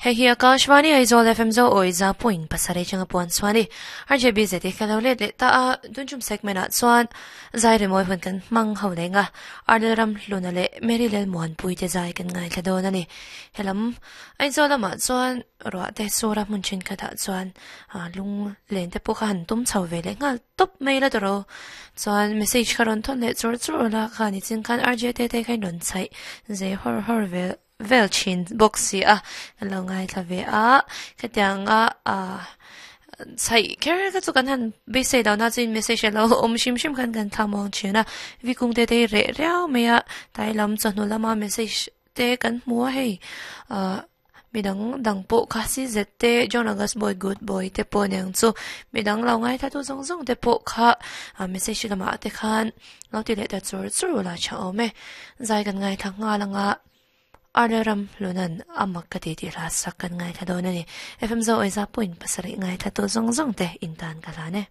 Hei hi Akashvani Aizawl FM zo awi za point pasarih changa puan chuan i RJB zeti ka lo let leh ta a, tun tum segment ah chuan zai rimawi hun kan hmang ho leng a, Arnel ram hluna leh Mary Lelmuanpui te zai kan ngaithla dawn a ni. Helam Aizawl lamah chuan ruah te sura hmun thenkhatah chuan lung len te pawh kha han tum chho ve leh nghal tawp mai la tawrh chuan message kha rawn thawn leh chur chur la kha nichin khan RJ te te kha in rawn chhaih zeh hawr hawr vel vel thin bawk si a kan lo ngaithla ve a khatianga ah chhaih kher kha chu kan han beisei lo na chuin message a lo awm hrim hrim khan kan thla muang thin a vikung te te hi reh riau mai a tlai lam chawhnu lama message te kan hmu a hei ah midang dang pawh kha si zet te John August boy good boy te pawh aniang chu midang lo ngaithla tu zawng zawng te pawh kha ah message lamah te khan lo ti leh ta chur chur la tha awm e zai kan ngaithla nghal anga Arle ram hlunan a mak ka ti tih hla sak kan ngaithla dawn a ni. FM Zo Awiza point pasarih ngaithla tu zawng zawng te in tan ka hlan e.